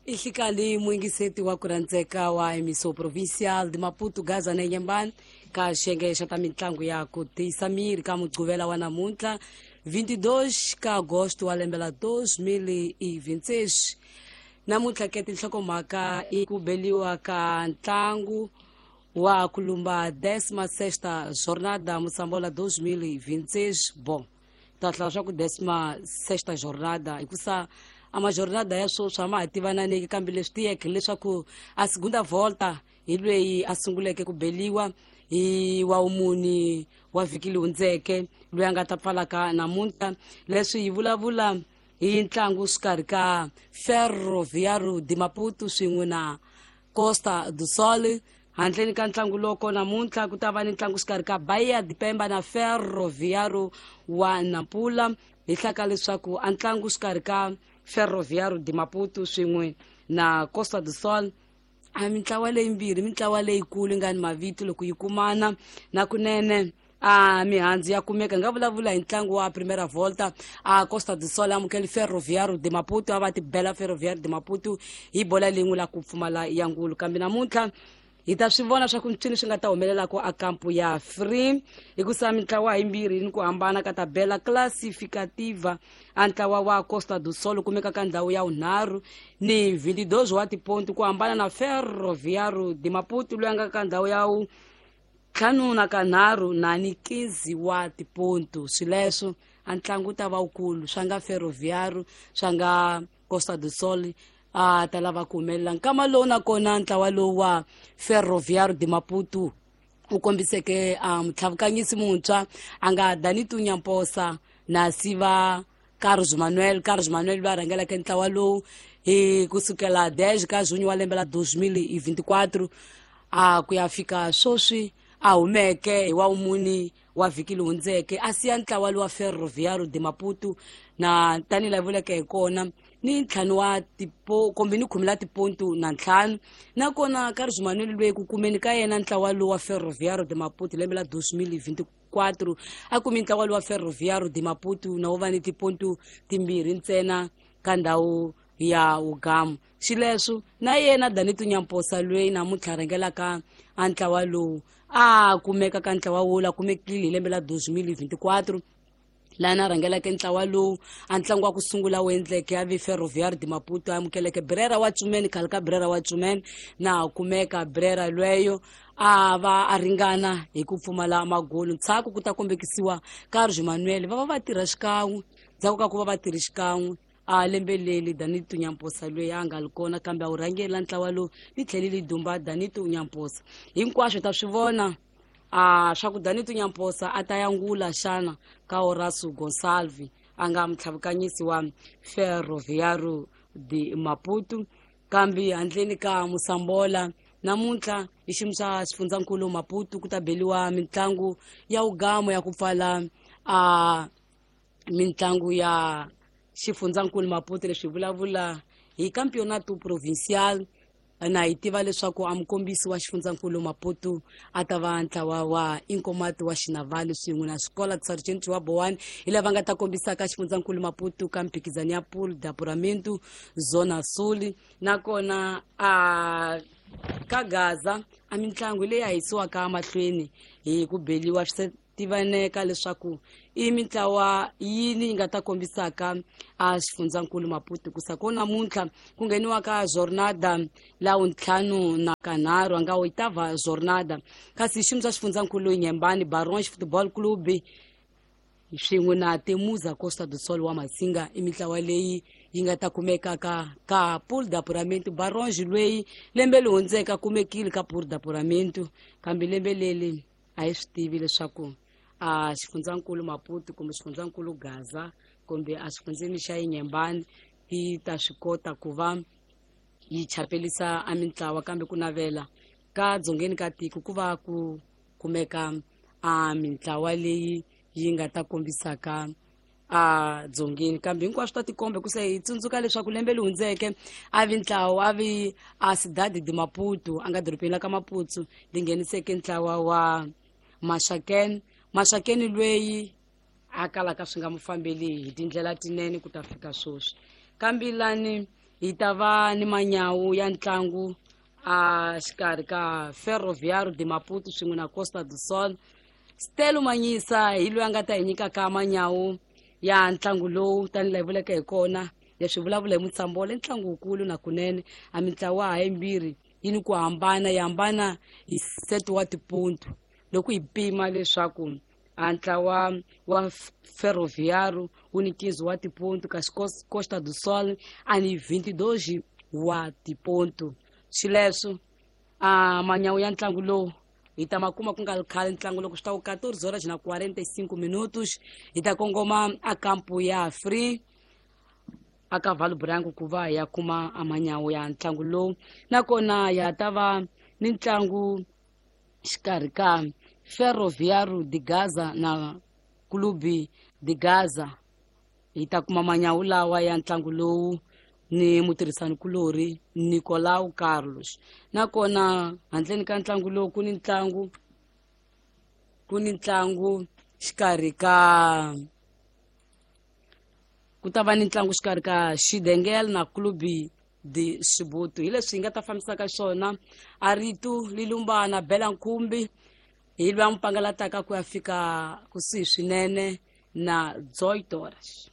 Ihlikali muyingiseti wa ku rhandzeka wa Emiso Provincial de Maputo Gaza na Inhambane ka xiyenge xa ta mitlangu ya ku tiyisa miri ka Mugqivela wa namuntlha 22 ka Agosto wa lembe la 2026. Namuntlha ke tinhlokomhaka i ku beliwa ka ntlangu wa ku lumba 16ª Jornada Moçambola 2026. Bom, ta hlaya swa ku 16ª Jornada hikusa a majornada ya sweswi a ma ha tivananeki, kambe leswi tiyeke leswaku a segunda volta hi lweyi a sunguleke ku beliwa hi wa wumuni wa vhiki leyi hundzeke loyi a nga ta pfalaka namuntlha. Leswi hi vulavula hi ntlangu xikarhi ka Ferroviário de Maputo swin'we na Costa do Sol. Handleni ka ntlangu loko namuntlha ku ta va ni ntlangu xikarhi ka Bahia de Pemba na Ferroviário wa Nampula. Hi hlaka leswaku a ntlangu xikarhi ka Ferroviário de Maputo swin'we na Costa do Sol a mintlawa leyimbirhi, mintlawa leyikulu yi nga ni mavito loko yi kumana na kunene a mihandzu ya kumeka. Nga vulavula hi ntlangu wa Primera Volta, a Costa do Sol amukeli Ferroviário de Maputo, a va tibela Ferroviário de Maputo hi bola lin'we la ku pfumala ya ngulu. Kambe namuntlha hi ta swi vona swa ku mpfini swi nga ta humelelaka a kampu ya free, hikusa mintlawa yimbirhi ni ku hambana ka tabela classificativa. A ntlawa wa Costa do Sol kumeka ka ndhawu ya vunharhu ni 22 wa tiponti, ku hambana na Ferroviário de Maputo loyi a nga ka ndhawu ya ntlhanu na kanharhu na ni 15 wa tipontu. Swileswo a ntlangu ta va wukulu, swa nga Ferroviário swa nga Costa do Sol a ta lava ku humelela nkama lowu. Nakona ntlawa lowu wa Ferroviário de Maputo u kombiseke a mutlhavukanyisi muntshwa a nga Danito Nyamposa na siva Carlos Manuel. Carlos Manuel loyi a rhangeleke ntlawa lowu hi kusukela 10 ka junho wa lembe la 2024 a ku ya fika sweswi, a humeke hi wa wumuni wa vhiki leyi hundzeke, a siya ntlawa lowa Ferroviário de Maputo na tanihi laha vuleke hi kona ni ntlhanu wa tipo kumbe ni khume la tipontu na ntlhanu. Nakona Carlos Manuel loyi ku kumeni ka yena ntlawa lowu wa Ferroviário de Maputo lembe la 2024, a kumi ntlawa lowu wa Ferroviário de Maputo na wo va ni tipontu timbirhi ntsena ka ndhawu ya wugamu. Xileswo na yena Danito Nyamposa loyi namuntlha rhangelaka a ntlawa lowu a kumeka ka ntlawa wo la kumekile hi lembe la 2024 laha na rhangeleke ntlawa lowu. A ntlangu wa ku sungula wu endleke a vi Ferroviário de Maputo a amukeleke Brera wa Cumene, khale ka Brera wa Cumene, na kumeka Brera lweyo a va a ringana hi ku pfumala magolu. Ntshaku ku ta kombekisiwa Carlos Manuel va va va tirha xikan'we. Ndzhaku ka ku va va tirhi xikan'we a lembe leli, Danito Nyamposa loyi a nga li kona kambe a wu rhangela ntlawa lowu ni tlhelile dumba Danito Nyamposa. Hinkwaswo ta swi vona a swa ku Danito Nyamposa a ta yangula xana ka Horacio Gonçalves a nga mutlhavukanyisi wa Ferroviário de Maputo. Kambe handleni ka Moçambola namuntlha hi xiyimo xa xifundzankulu Maputo ku ta beliwa mitlangu ya wugamo ya ku pfala a mitlangu ya xifundzankulu Maputo. Leswi vulavula hi Campeonato Provincial, na hi tiva leswaku a mukombisi wa xifundzankulu Maputo a ta va ntlawa wa Inkomati wa Xinavali swin'we na Xikola Sargent wa Bowani, hi lava nga ta kombisaka xifundzankulu Maputo ka mphikizano ya Pool de Apuramento Zona Sul. Nakona a ka Gaza a mitlangu leyi a yisiwaka mahlweni hi ku beliwa swi tivaneka leswaku i mintlawa yini yi nga ta kombisaka a xifundzankulu Maputo, kusa ko namuntlha ku ngheniwa ka jornada la wuntlhanu na kanharhu a nga oitava jornada. Kasi xiyimo xa xifundzankulu Inhambane, Baronge Football Club swin'we na Temuza Costa do Sol wa Masinga i mintlawa leyi yi nga ta kumeka ka Pool de Apuramento. Baronge loyi lembe leri hundzeke a kumekile ka Pool de Apuramento, kambe lembe leri a hi swi tivi leswaku a xifundzankulu Maputo kumbe xifundzankulu Gaza kumbe a xifundzeni xa Inhambane yi ta swi kota ku va yi chapelisa a mintlawa. Kambe ku navela ka dzongeni ka tiko ku va ku kumeka a mintlawa leyi yi nga ta kombisaka a dzongeni, kambe hinkwaswo ta tikomba hikusa hi tsundzuka leswaku lembe leri hundzeke a vi ntlawa a vi a Cidade de Maputo a nga dorobeni la ka Maputo li ngheniseke ntlawa wa Maxakeni. Maxakeni loyi a kalaka swi nga mu fambeli hi tindlela tinene ku ta fika sweswi, kambe lani Hi ta va ni manyawu ya ntlangu a xikarhi ka Ferroviário de Maputo swin'we na Costa do Sol. Stelo Manyisa hi loyi a nga ta hi nyikaka manyawu ya ntlangu lowu, tanihi laha hi vuleke hi kona leswi vulavula hi Mutsambola, i ntlangu wukulu na kunene. A mintlawa ha yimbirhi yi ni ku hambana, yi hambana hi set wa tipontu. Loko hi pima leswaku a ntlawa wa Ferroviário wu ni 15 wa tipontu, kasi Costa do Sol a ni 22 wa tipontu. Xileswo a manyawu ya ntlangu lowu hi ta ma kuma ku nga ri khale. Ntlangu loko swi ta ku 14 horas na 45 minutos, hi ta kongoma a kampu ya free aka Valo Branco ku va hi ya kuma amanyawu ya ntlangu lowu. Nakona ya ta va ni ntlangu xikarhi ka Ferroviário de Gaza na Clube de Gaza. Hi ta kuma manyawu lawa ya ntlangu lowu ni mutirhisani kulorhi Nicolau Carlos. Nakona handleni ka ntlangu lowu ku ni ntlangu, ku ni ntlangu xikarhi ka, ku ta va ni ntlangu xikarhi ka Xidengel na Clube de Xibutu. Hi leswi hi nga ta fambisaka xona a rito lilumbana bela nkhumbi hi lwa mupangalataka ku ya fika kusuhi swinene na 18 horas.